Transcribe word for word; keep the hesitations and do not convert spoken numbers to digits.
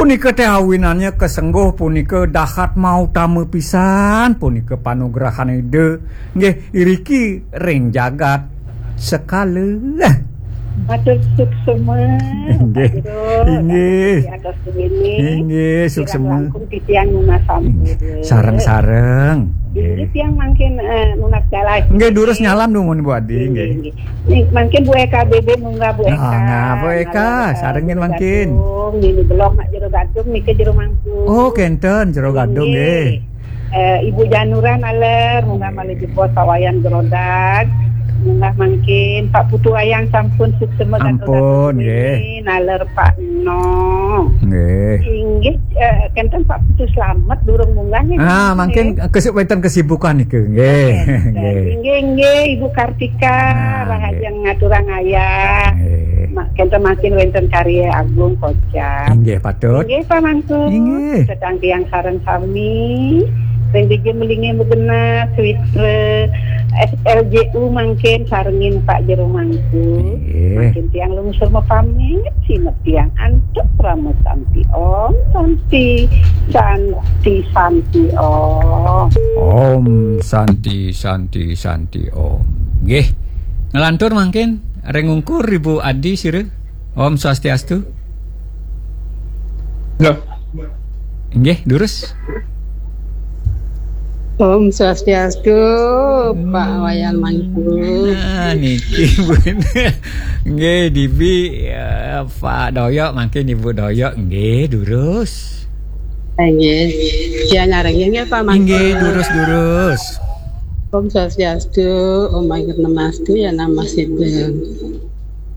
Nika téh awinannya kesengguh punika dahat mautama pisan, punika panugrahan Ida. Nggih, iriki ring jagat sekala. Matur suksema, Inggih. Pak Guru. Inggih. Atas ini. Inggih, kirang suksema. Langkung titiang nunas sampun. Sareng-sareng. Inggih, tiang mangkin, eh, nunas galah. Inggih, durus nyalam dumun Bu Adi, inggih. Inggih. Nih, mangkin Bu Eka B B, munggah Bu Eka. Nah, nah, Bu Eka, nalor, eh, sarengin jero mangkin. Gadung, nini belong nak jero gadung, nika jero mangku. Oh, kenten jero gadung, inggih. Eh, Ibu Janura naler, munggah malih jebos Pak Wayan Gerodag. Munggah mangkin Pak Putu Wayang sampun suksema. Ampun, gadung nggih. Ini naler Pak Eno. Nggih. Inggih, eh, kenten Pak Putu Slamet durung munggah nih. Ah, mungkin mangkin kesi-, wénten kesibukan niku, nggih. Nggih. Nggih, nggih, Ibu Kartika, nah, nggih, rahajeng ngaturang ayah. Nggih. Ma-, kenten mangkin wénten karya agung kocap. Inggih, patut. Inggih, Pak Mangku. Inggih. Sedang tiang sareng sami. Ring dija melingih magenah, Switra, S L J U mangkin sarengin Pak Jero Mangku. Nggih. Mangkin tiang lungsur mapamit, sineb tiang antuk parama santi. Om Santi, Santi, Santi Om. Om Santi, Santi, Santi Om. Nggih. Ngelantur mangkin ring ungkur Ibu Adi sira. Om Swastiastu. Loh. Nggih, durus. Om Swastiastu, Pak Wayan Mangku. Nah, niki pun. Nggih, Dibi, eh, Pak Doyok, mangkin Ibu Doyok, nggih, durus. Nggih. Sia nyarengin nggih, Pak Mangku. Nggih, durus-durus. Om Swastiastu, Om Ayu Namastu, ya Namasidem.